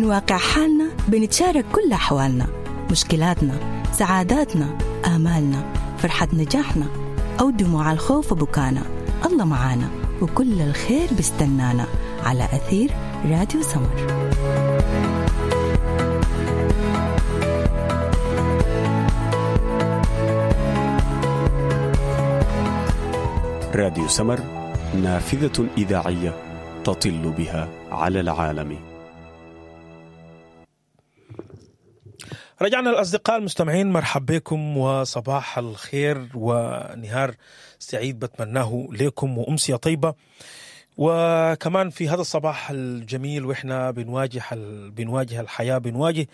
من واقع حالنا بنتشارك كل أحوالنا، مشكلاتنا، سعاداتنا، آمالنا، فرحة نجاحنا أو دموع الخوف وبكانا. الله معانا وكل الخير بيستنانا على أثير راديو سمر. راديو سمر، نافذة إذاعية تطل بها على العالم. رجعنا الأصدقاء المستمعين، مرحب بكم وصباح الخير ونهار سعيد بتمناه لكم وأمسية طيبة. وكمان في هذا الصباح الجميل وإحنا بنواجه الحياة، بنواجه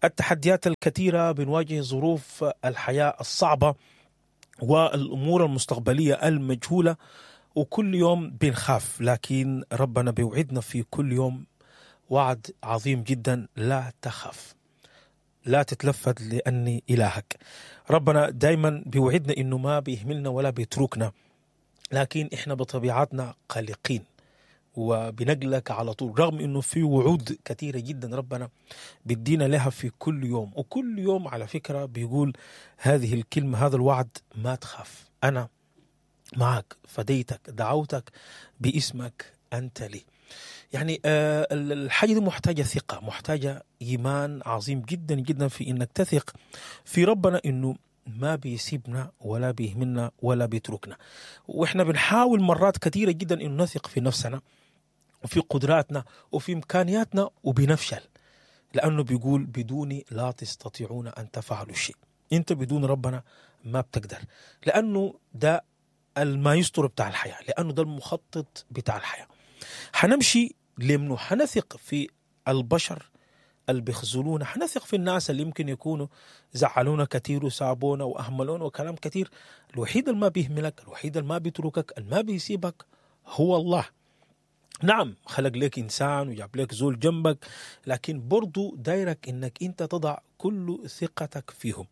التحديات الكثيرة، بنواجه ظروف الحياة الصعبة والأمور المستقبلية المجهولة، وكل يوم بنخاف، لكن ربنا بيوعدنا في كل يوم وعد عظيم جدا: لا تخاف، لا تتلفت لأني إلهك. ربنا دايما بيوعدنا إنه ما بيهملنا ولا بيتركنا، لكن إحنا بطبيعتنا قلقين وبنقلق على طول، رغم إنه في وعود كثيرة جدا ربنا بيدينا لها في كل يوم. وكل يوم على فكرة بيقول هذه الكلمة، هذا الوعد: ما تخاف، أنا معك، فديتك، دعوتك باسمك، أنت لي. يعني الحاجة دي محتاجة ثقة، محتاجة إيمان عظيم جدا جدا في إنك تثق في ربنا إنه ما بيسيبنا ولا بيهملنا ولا بيتركنا. وإحنا بنحاول مرات كثيرة جدا إنه نثق في نفسنا وفي قدراتنا وفي إمكانياتنا وبنفشل، لأنه بيقول بدوني لا تستطيعون أن تفعلوا شيء. أنت بدون ربنا ما بتقدر، لأنه ده المايسترو بتاع الحياة، لأنه ده المخطط بتاع الحياة. حنمشي لمنه؟ حنثق في البشر اللي بيخذلونا، حنثق في الناس اللي يمكن يكونوا زعلونا كثير وسابونا وأهملونا وكلام كثير. الوحيد اللي ما بيهملك، الوحيد اللي ما بيتركك، اللي ما بيسيبك هو الله. نعم خلق لك إنسان وجاب لك زول جنبك، لكن برضو دايرك إنك أنت تضع كل ثقتك فيهم.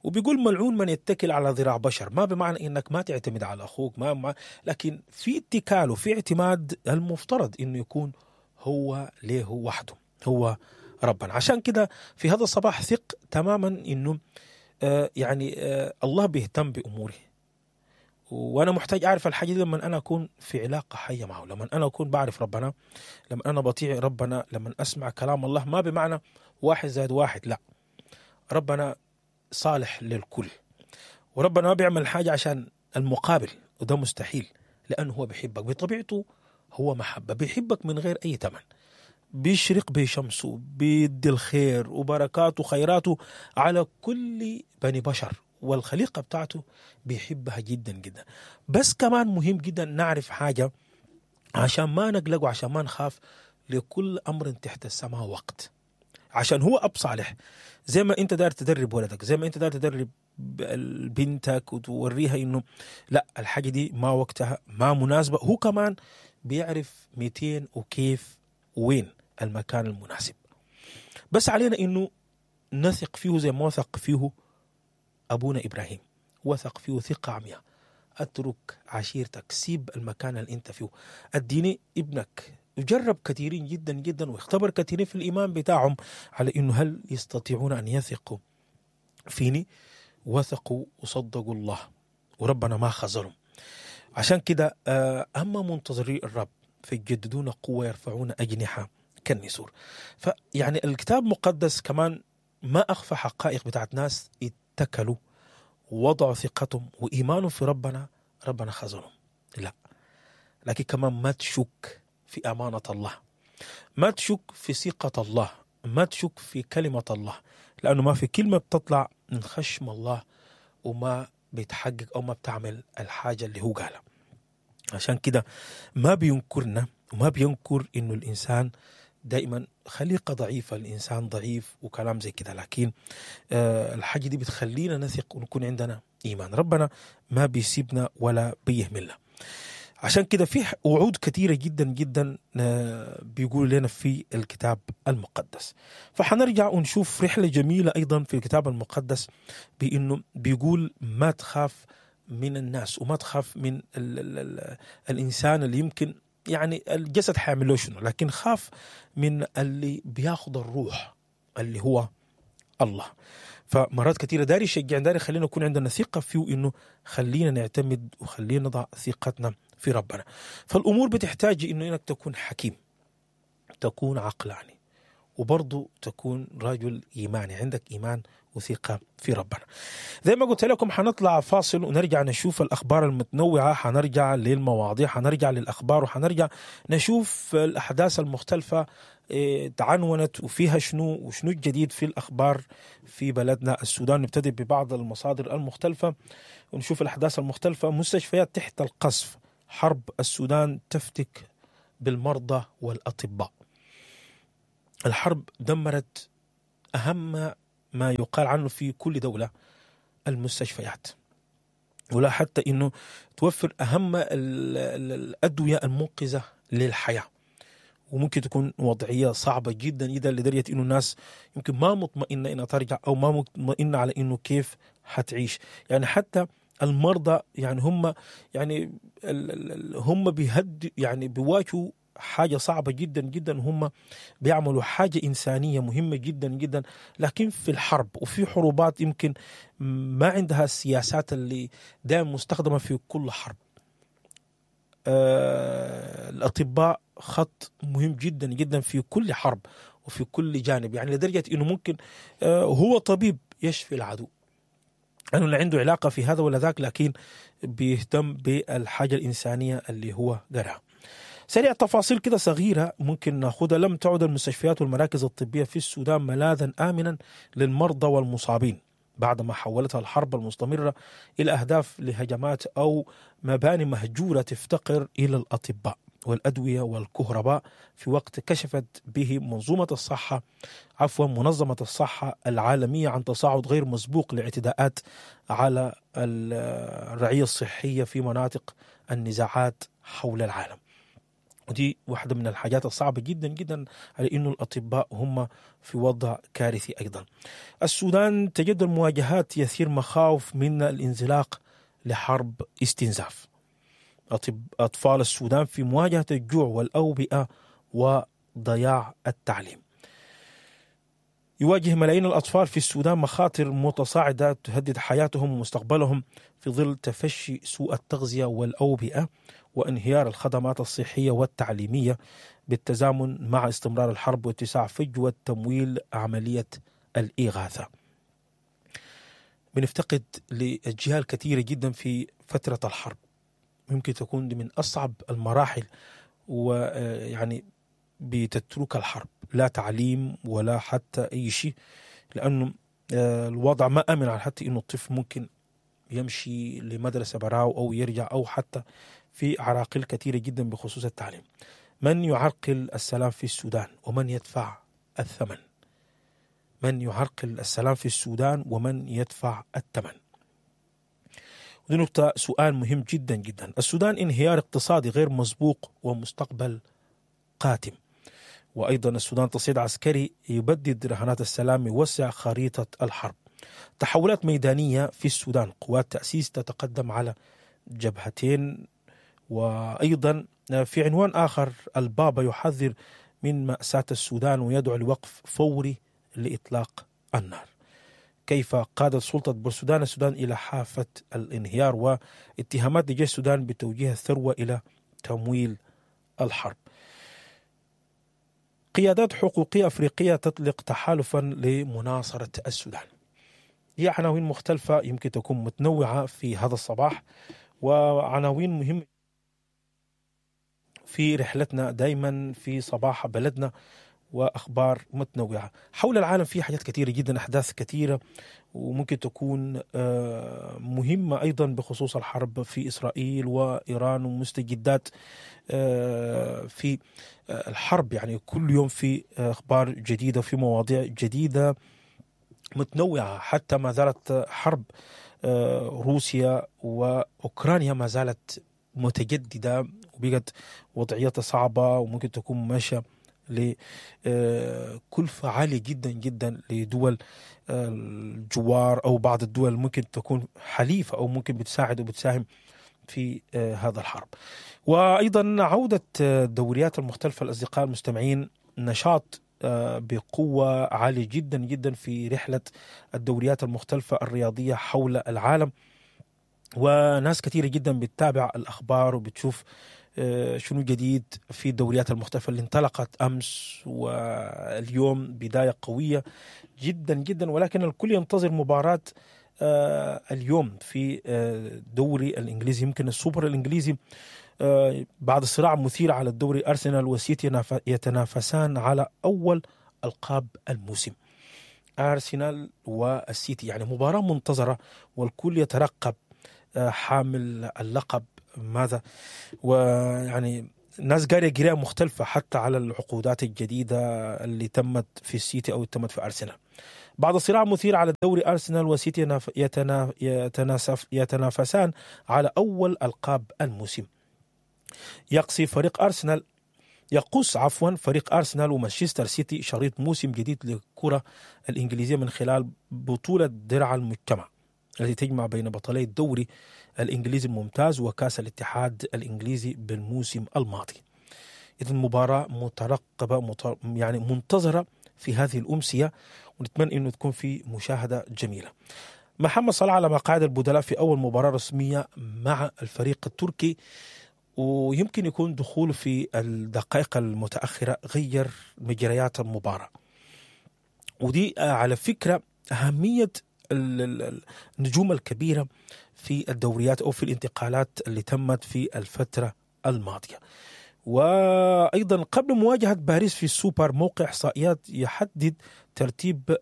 وبيقول ملعون من يتكل على ذراع بشر، ما بمعنى إنك ما تعتمد على أخوك، ما لكن في اتكال وفي اعتماد المفترض إنه يكون هو ليه وحده، هو ربنا. عشان كده في هذا الصباح ثق تماما إنه الله بيهتم بأموره، وأنا محتاج أعرف الحاجة دي لما أنا أكون في علاقة حية معه، لما أنا أكون بعرف ربنا، لما أنا بطيع ربنا، لما أسمع كلام الله. ما بمعنى 1+1، لا، ربنا صالح للكل، وربنا ما بيعمل حاجة عشان المقابل، وده مستحيل، لأنه هو بيحبك بطبيعته، هو محبة، بيحبك من غير أي ثمن، بيشرق بشمسه، بيدي الخير وبركاته وخيراته على كل بني بشر، والخليقة بتاعته بيحبها جدا جدا. بس كمان مهم جدا نعرف حاجة عشان ما نقلق وعشان ما نخاف: لكل أمر تحت السماء وقت. عشان هو أب صالح، زي ما أنت داير تدرب ولدك، زي ما أنت داير تدرب بنتك وتوريها إنه لا الحاجة دي ما وقتها، ما مناسبة، هو كمان بيعرف 200 وكيف وين المكان المناسب. بس علينا إنه نثق فيه زي ما وثق فيه أبونا إبراهيم، وثق فيه ثقة عمياء. أترك عشيرتك، سيب المكان اللي أنت فيه، أديني ابنك. وجرب كثيرين جدا جدا واختبر كثيرين في الإيمان بتاعهم على إنه هل يستطيعون أن يثقوا فيني. وثقوا وصدقوا الله، وربنا ما خذلهم. عشان كده أما منتظري الرب فيجددون قوة، يرفعون أجنحة كالنسور. فيعني الكتاب المقدس كمان ما أخفى حقائق بتاعت ناس اتكلوا ووضعوا ثقتهم وإيمانهم في ربنا، ربنا خذلهم. لا، لكن كمان ما تشك في أمانة الله، ما تشك في ثقة الله، ما تشك في كلمة الله، لأنه ما في كلمة بتطلع من خشم الله وما بيتحقق أو ما بتعمل الحاجة اللي هو قالها. عشان كده ما بينكرنا وما بينكر إنه الإنسان دائما خليقة ضعيفة، الإنسان ضعيف وكلام زي كده، لكن الحاجة دي بتخلينا نثق ونكون عندنا إيمان. ربنا ما بيسيبنا ولا بيهملنا. عشان كده في وعود كثيرة جدا جدا بيقول لنا في الكتاب المقدس. فحنرجع ونشوف رحلة جميلة أيضا في الكتاب المقدس، بأنه بيقول ما تخاف من الناس وما تخاف من ال ال ال الإنسان اللي يمكن يعني الجسد حيعمل له شنو، لكن خاف من اللي بياخد الروح اللي هو الله. فمرات كثيرة داري يشجعنا، داري خلينا نكون عندنا ثقة فيه، إنه خلينا نعتمد وخلينا نضع ثقتنا في ربنا. فالأمور بتحتاج إنه إنك تكون حكيم، تكون عقلاني، وبرضه تكون رجل إيماني، عندك إيمان وثقة في ربنا. زي ما قلت لكم حنطلع فاصل ونرجع نشوف الأخبار المتنوعة، حنرجع للمواضيع، حنرجع للأخبار، وحنرجع نشوف الأحداث المختلفة تعنونت وفيها شنو وشنو الجديد في الأخبار في بلدنا السودان. نبتدي ببعض المصادر المختلفة ونشوف الأحداث المختلفة. مستشفيات تحت القصف، حرب السودان تفتك بالمرضى والأطباء. الحرب دمرت أهم ما يقال عنه في كل دولة، المستشفيات، ولا حتى إنه توفر أهم الأدوية المنقذة للحياة. وممكن تكون وضعية صعبة جدا جدا لدرجة إنه الناس يمكن ما مطمئنة إنها ترجع، أو ما مطمئنة على إنه كيف حتعيش. يعني حتى المرضى يعني هم يعني هم بيهد يعني بيواجهوا حاجة صعبة جدا جدا، هم بيعملوا حاجة إنسانية مهمة جدا جدا، لكن في الحرب وفي حروبات يمكن ما عندها السياسات اللي دائما مستخدمة في كل حرب. الأطباء خط مهم جدا جدا في كل حرب وفي كل جانب، يعني لدرجة إنه ممكن هو طبيب يشفي العدو، أنه لا عنده علاقة في هذا ولا ذاك، لكن بيهتم بالحاجة الإنسانية اللي هو قرأها. سريع تفاصيل كده صغيرة ممكن ناخدها. لم تعد المستشفيات والمراكز الطبية في السودان ملاذا آمنا للمرضى والمصابين بعدما حولتها الحرب المستمرة إلى أهداف لهجمات أو مباني مهجورة تفتقر إلى الأطباء والأدوية والكهرباء، في وقت كشفت به منظمة الصحة العالمية عن تصاعد غير مسبوق لاعتداءات على الرعية الصحية في مناطق النزاعات حول العالم. ودي واحدة من الحاجات الصعبة جدا جدا، على إنه الأطباء هم في وضع كارثي أيضا. السودان تجدد المواجهات يثير مخاوف من الانزلاق لحرب استنزاف. أطفال السودان في مواجهة الجوع والأوبئة وضياع التعليم. يواجه ملايين الأطفال في السودان مخاطر متصاعدة تهدد حياتهم ومستقبلهم في ظل تفشي سوء التغذية والأوبئة وانهيار الخدمات الصحية والتعليمية، بالتزامن مع استمرار الحرب واتساع فجوة تمويل عملية الإغاثة. بنفتقد لأجيال كثيرة جدا في فترة الحرب، ممكن تكون دي من أصعب المراحل، ويعني بتترك الحرب لا تعليم ولا حتى أي شيء، لأنه الوضع ما أمن على حتى إنه الطفل ممكن يمشي لمدرسة براو أو يرجع، أو حتى في عراقيل كثيرة جدا بخصوص التعليم. من يعرقل السلام في السودان ومن يدفع الثمن؟ من يعرقل السلام في السودان ومن يدفع الثمن؟ ودي نقطة، سؤال مهم جدا جدا. السودان انهيار اقتصادي غير مسبوق ومستقبل قاتم. وأيضا السودان تصعيد عسكري يبدد رهانات السلام، يوسع خريطة الحرب. تحولات ميدانية في السودان، قوات تأسيس تتقدم على جبهتين. وأيضا في عنوان آخر، البابا يحذر من مأساة السودان ويدعو لوقف فوري لإطلاق النار. كيف قادت سلطة بورسودان السودان إلى حافة الانهيار، واتهامات لجيش السودان بتوجيه الثروة إلى تمويل الحرب. قيادات حقوقية أفريقية تطلق تحالفا لمناصرة السودان. هي عناوين مختلفة يمكن تكون متنوعة في هذا الصباح، وعناوين مهمة في رحلتنا دايما في صباح بلدنا، وأخبار متنوعة حول العالم. في حاجات كثيرة جدا، أحداث كثيرة وممكن تكون مهمة أيضا بخصوص الحرب في إسرائيل وإيران ومستجدات في الحرب. يعني كل يوم في أخبار جديدة، في مواضيع جديدة متنوعة. حتى ما زالت حرب روسيا وأوكرانيا ما زالت متجددة، وبقت وضعيتها صعبة، وممكن تكون ماشية لكلفة عالية جدا جدا لدول الجوار أو بعض الدول ممكن تكون حليفة أو ممكن بتساعد وبتساهم في هذا الحرب. وايضا عوده الدوريات المختلفة الاصدقاء المستمعين، نشاط بقوة عالية جدا جدا في رحله الدوريات المختلفة الرياضية حول العالم، وناس كثيرة جدا بتتابع الاخبار وبتشوف شنو جديد في الدوريات المختلفة اللي انطلقت امس واليوم، بداية قوية جدا جدا، ولكن الكل ينتظر مباراة اليوم في الدوري الانجليزي، يمكن السوبر الانجليزي، بعد صراع مثير على الدوري، ارسنال وسيتي يتنافسان على اول القاب الموسم. ارسنال والسيتي يعني مباراة منتظره، والكل يترقب حامل اللقب ماذا، ويعني ناس قارية قراءة مختلفة حتى على العقودات الجديدة اللي تمت في السيتي أو تمت في أرسنال. بعد صراع مثير على الدوري، أرسنال وسيتي يتنافسان على أول ألقاب الموسم. يقصي فريق أرسنال يقص عفوا فريق أرسنال ومانشستر سيتي شريط موسم جديد للكرة الإنجليزية من خلال بطولة درع المجتمع التي تجمع بين بطلي الدوري الإنجليزي الممتاز وكأس الاتحاد الإنجليزي بالموسم الماضي. إذن مباراة مترقبة يعني منتظرة في هذه الأمسية، ونتمنى أنه تكون في مشاهدة جميلة. محمد صلاح على مقاعد البدلاء في أول مباراة رسمية مع الفريق التركي، ويمكن يكون دخوله في الدقائق المتأخرة غير مجريات المباراة. ودي على فكرة أهمية النجوم الكبيرة في الدوريات أو في الانتقالات اللي تمت في الفترة الماضية. وأيضا قبل مواجهة باريس في السوبر، موقع إحصائيات يحدد ترتيب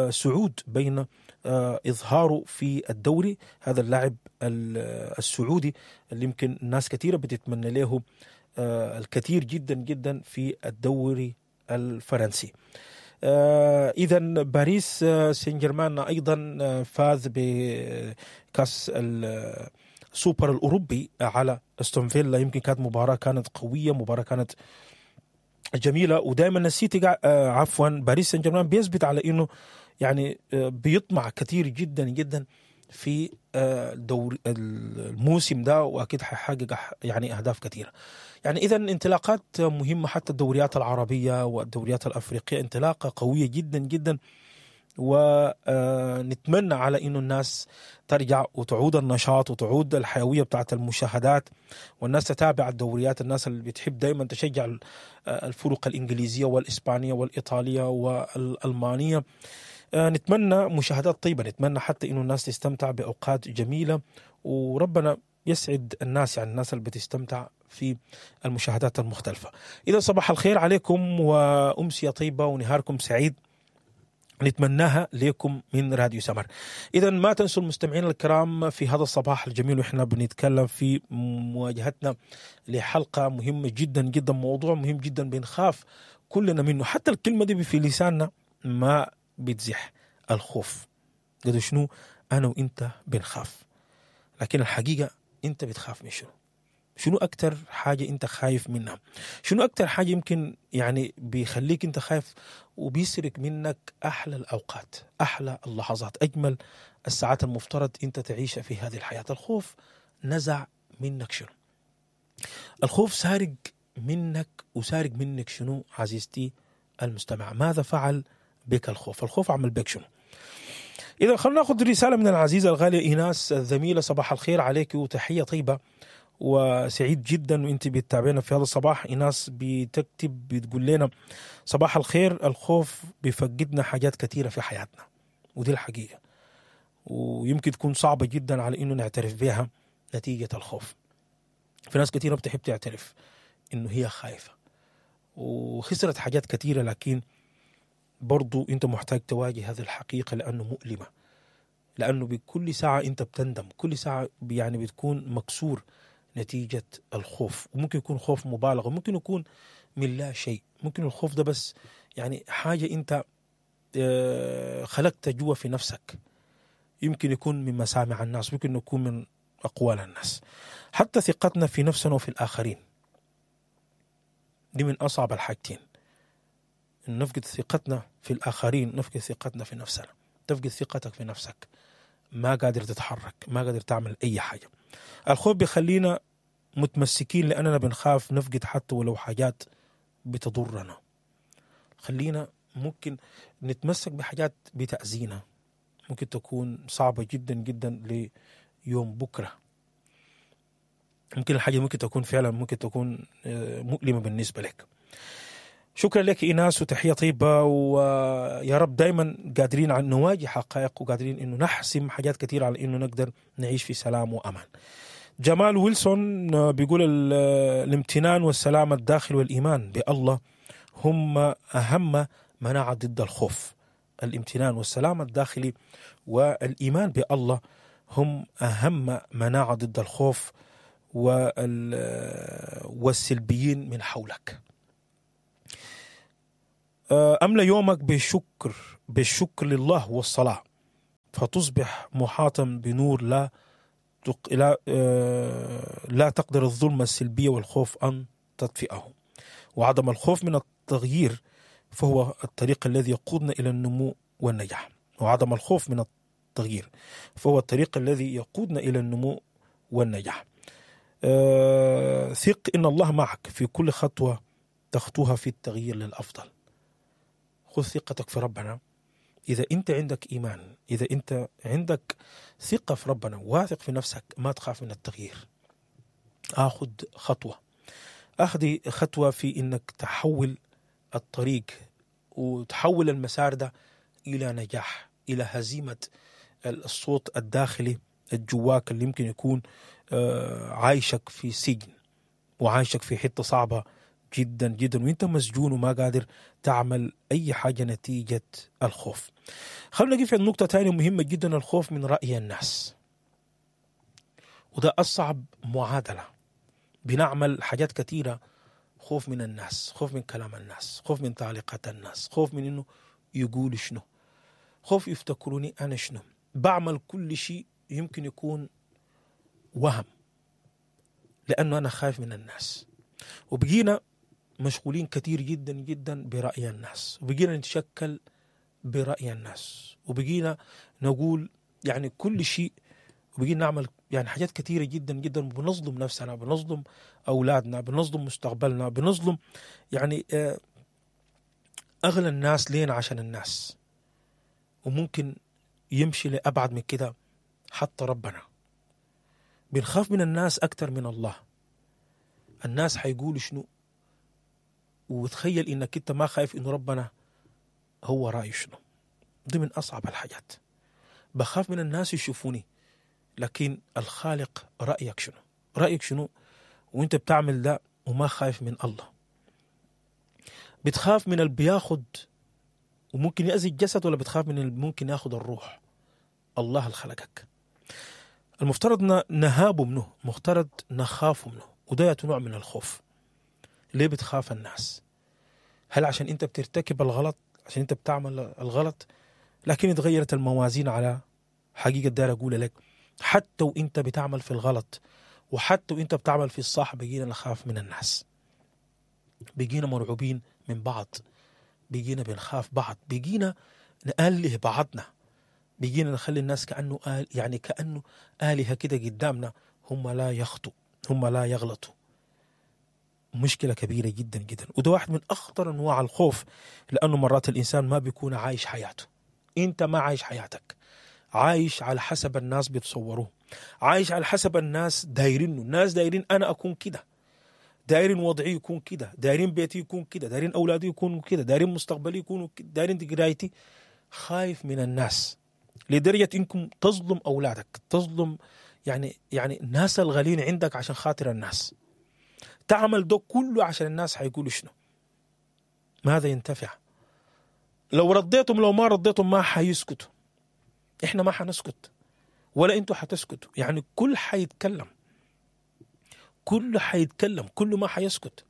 سعود بين إظهاره في الدوري، هذا اللاعب السعودي اللي يمكن ناس كثيرة بتتمنى له الكثير جدا جدا في الدوري الفرنسي. إذا باريس سان جيرمان أيضا فاز بكأس السوبر الأوروبي على استون فيلا، يمكن كانت مباراة كانت قوية، مباراة كانت جميلة، ودائما السيتي عفوا باريس سان جيرمان بيثبت على إنه يعني بيطمع كثير جدا جدا في دور الموسم ده، واكيد حيحقق يعني اهداف كثيرة. يعني اذا انطلاقات مهمة حتى الدوريات العربية والدوريات الافريقية انطلاقة قوية جدا جدا، ونتمنى على انه الناس ترجع وتعود النشاط وتعود الحيوية بتاعت المشاهدات، والناس تتابع الدوريات، الناس اللي بتحب دائما تشجع الفرق الانجليزية والاسبانيه والايطاليه والالمانيه. نتمنى مشاهدات طيبة، نتمنى حتى إنه الناس تستمتع بأوقات جميلة، وربنا يسعد الناس، يعني الناس اللي بتستمتع في المشاهدات المختلفة. إذا صباح الخير عليكم وأمسية طيبة ونهاركم سعيد نتمناها لكم من راديو سمر. إذا ما تنسوا المستمعين الكرام في هذا الصباح الجميل وإحنا بنتكلم في مواجهتنا لحلقة مهمة جدا جدا، موضوع مهم جدا بنخاف كلنا منه، حتى الكلمة دي في لساننا ما بتزح، الخوف. قدر شنو أنا وإنت بنخاف، لكن الحقيقة أنت بتخاف من شنو؟ شنو أكتر حاجة أنت خايف منها؟ شنو أكتر حاجة يمكن يعني بيخليك أنت خايف وبيسرق منك أحلى الأوقات، أحلى اللحظات، أجمل الساعات المفترض أنت تعيشها في هذه الحياة؟ الخوف نزع منك شنو؟ الخوف سارق منك وسارق منك شنو عزيزتي المستمع؟ ماذا فعل بك الخوف؟ الخوف عمل بك شنو؟ إذا خلونا ناخذ رسالة من العزيزة الغالية إيناس الزميلة. صباح الخير عليك وتحية طيبة، وسعيد جدا وانت بتتابعنا في هذا الصباح. إيناس بتكتب بتقول لنا صباح الخير، الخوف بيفقدنا حاجات كثيرة في حياتنا، ودي الحقيقة، ويمكن تكون صعبة جدا على إنه نعترف بها نتيجة الخوف. في ناس كثيرة بتحب تعترف إنه هي خايفة وخسرت حاجات كثيرة، لكن برضو انت محتاج تواجه هذه الحقيقة لأنه مؤلمة، لأنه بكل ساعة انت بتندم، كل ساعة يعني بتكون مكسور نتيجة الخوف، وممكن يكون خوف مبالغ، وممكن يكون من لا شيء، ممكن الخوف ده بس يعني حاجة انت خلقتها جوا في نفسك، يمكن يكون من مسامع الناس، ممكن يكون من أقوال الناس، حتى ثقتنا في نفسنا وفي الآخرين. دي من أصعب الحاجتين، نفقد ثقتنا في الآخرين، نفقد ثقتنا في نفسنا. تفقد ثقتك في نفسك، ما قادر تتحرك، ما قادر تعمل أي حاجة. الخوف بيخلينا متمسكين لأننا بنخاف نفقد حتى ولو حاجات بتضرنا. خلينا ممكن نتمسك بحاجات بتأذينا، ممكن تكون صعبة جدا جدا ليوم بكرة. ممكن الحاجة ممكن تكون فعلا ممكن تكون مؤلمة بالنسبة لك. شكرا لك إيناس وتحية طيبة، ويا رب دايما قادرين على نواجه حقائق وقادرين إنه نحسم حاجات كثيرة على إنه نقدر نعيش في سلام وأمان. جمال ويلسون بيقول الامتنان والسلام الداخلي والإيمان بالله هم أهم مناعة ضد الخوف. الامتنان والسلام الداخلي والإيمان بالله هم أهم مناعة ضد الخوف والسلبيين من حولك. أملأ يومك بالشكر لله والصلاة، فتصبح محاطا بنور لا تقدر الظلمة السلبية والخوف أن تطفئه. وعدم الخوف من التغيير فهو الطريق الذي يقودنا إلى النمو والنجاح. وعدم الخوف من التغيير فهو الطريق الذي يقودنا إلى النمو والنجاح. ثق إن الله معك في كل خطوة تخطوها في التغيير للأفضل. خذ ثقتك في ربنا. إذا أنت عندك إيمان، إذا أنت عندك ثقة في ربنا، واثق في نفسك، ما تخاف من التغيير. أخذ خطوة، أخذ خطوة في إنك تحول الطريق وتحول المسار ده إلى نجاح، إلى هزيمة الصوت الداخلي الجواك اللي يمكن يكون عايشك في سجن وعايشك في حتة صعبة جدا جدا، وانت مسجون وما قادر تعمل أي حاجة نتيجة الخوف. خلونا نقف عند نقطة تانية مهمة جدا، الخوف من رأي الناس. وده أصعب معادلة. بنعمل حاجات كثيرة خوف من الناس، خوف من كلام الناس، خوف من تعليقات الناس، خوف من إنه يقول شنو، خوف يفتكروني أنا شنو. بعمل كل شيء يمكن يكون وهم لأنه أنا خايف من الناس. وبقينا مشغولين كثير جدا جدا برأي الناس، وبقينا نتشكل برأي الناس، وبقينا نقول يعني كل شيء، وبقينا نعمل يعني حاجات كثيرة جدا جدا، بنظلم نفسنا، بنظلم أولادنا، بنظلم مستقبلنا، بنظلم يعني أغلى الناس لينا عشان الناس. وممكن يمشي لأبعد من كده حتى ربنا. بنخاف من الناس أكثر من الله. الناس حيقولوا شنو، وتخيل إنك أنت ما خايف إنه ربنا هو رأيه شنو. دي من أصعب الحاجات. بخاف من الناس يشوفوني، لكن الخالق رأيك شنو، رأيك شنو وانت بتعمل ده وما خايف من الله. بتخاف من اللي بياخد وممكن يأذي الجسد، ولا بتخاف من اللي ممكن ياخد الروح؟ الله اللي خلقك. المفترض نهابه منه، مفترض نخاف منه، وده نوع من الخوف. ليه بتخاف الناس؟ هل عشان انت بترتكب الغلط، عشان انت بتعمل الغلط؟ لكن اتغيرت الموازين على حقيقة. دار اقول لك حتى وانت بتعمل في الغلط وحتى وانت بتعمل في الصح، بقينا نخاف من الناس، بقينا مرعوبين من بعض، بقينا بنخاف بعض، بقينا نأله بعضنا، بقينا نخلي الناس كأنه يعني كأنه آلهة كده قدامنا، هم لا يخطوا، هم لا يغلطوا. مشكلة كبيرة جدا جدا، وده واحد من أخطر أنواع الخوف، لأنه مرات الإنسان ما بيكون عايش حياته. أنت ما عايش حياتك، عايش على حسب الناس بيتصوروه، عايش على حسب الناس دايرينه. الناس دايرين أنا أكون كده، دايرين وضعي يكون كده، دايرين بيتي يكون كده، دايرين أولادي يكونوا كده، دايرين مستقبلي يكونوا كده، دايرين قرايتي. خايف من الناس لدرجة إنكم تظلم أولادك، تظلم يعني الناس الغالين عندك عشان خاطر الناس. تعمل ده كله عشان الناس حيقولوا شنو، ماذا ينتفع؟ لو رضيتم لو ما رضيتم ما حيسكتوا. احنا ما حنسكت ولا انتوا حتسكتوا. يعني كل حيتكلم، كل حيتكلم، كل ما حيسكت.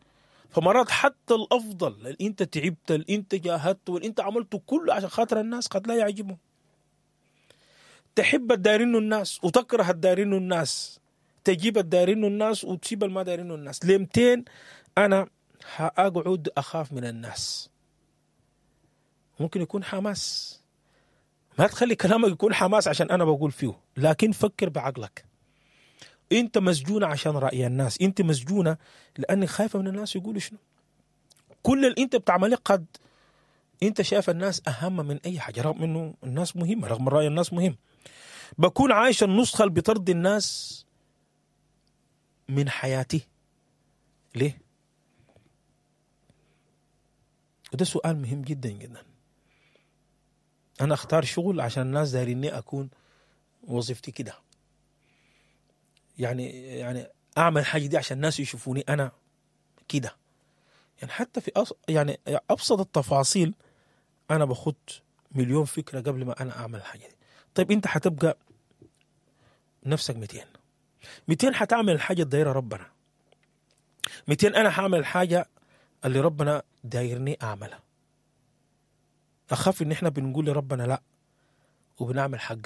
فمرات حتى الافضل اللي انت تعبت، اللي انت جاهدت، واللي انت عملته كله عشان خاطر الناس قد لا يعجبهم. تحب الدايرينه الناس وتكره الدايرينه الناس، تجيب الدايرينه الناس وتسيب الما دايرينه الناس. لمتين انا هاقعد اخاف من الناس؟ ممكن يكون حماس، ما تخلي كلامك يكون حماس عشان انا بقول فيه، لكن فكر بعقلك. انت مسجونه عشان راي الناس، انت مسجونه لانك خايفة من الناس يقولوا شنو. كل اللي انت بتعمله قد انت شايف الناس اهم من اي حاجة، رغم انه الناس مهمة، رغم راي الناس مهم. بكون عايش النسخة اللي بترضي الناس من حياتي. ليه؟ وده سؤال مهم جدا جدا. انا اختار شغل عشان الناس دايريني اكون وظيفتي كده، يعني اعمل حاجة دي عشان الناس يشوفوني انا كده. يعني حتى في يعني ابسط التفاصيل انا باخد مليون فكرة قبل ما انا اعمل الحاجة دي. طيب انت حتبقى نفسك 200 200 حتعمل الحاجة الدايرة ربنا، 200 انا هعمل الحاجة اللي ربنا دايرني اعملها. اخاف ان احنا بنقول لربنا لا وبنعمل حق